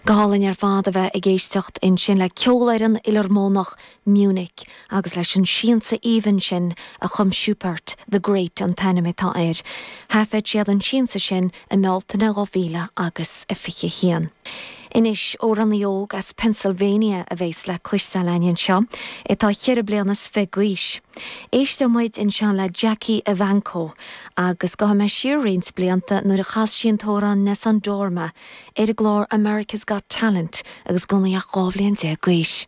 Go hálainn ar fad a bheith ag éisteacht ansin le Ceolfhoireann Fhiolarmónach Munich agus leis an siansa aoibhinn sin a chum Schubert, The Great an t-ainm atá air. Thaifead siad an siansa sin i mBealtaine 2000 agus 21. Anois, amhránaí óg as Pennsylvania a bhéas le cloisteáil againn anseo, atá cheithre bliana is fiche d'aois. Éisteoidh muid anseo le Jackie Evancho agus gabhfaidh mé siar roinnt blianta nuair a chas sí an t-amhrán Nessun Dorma ar an gclár America's Got Talent agus gan í ach 12 bhliain d'aois.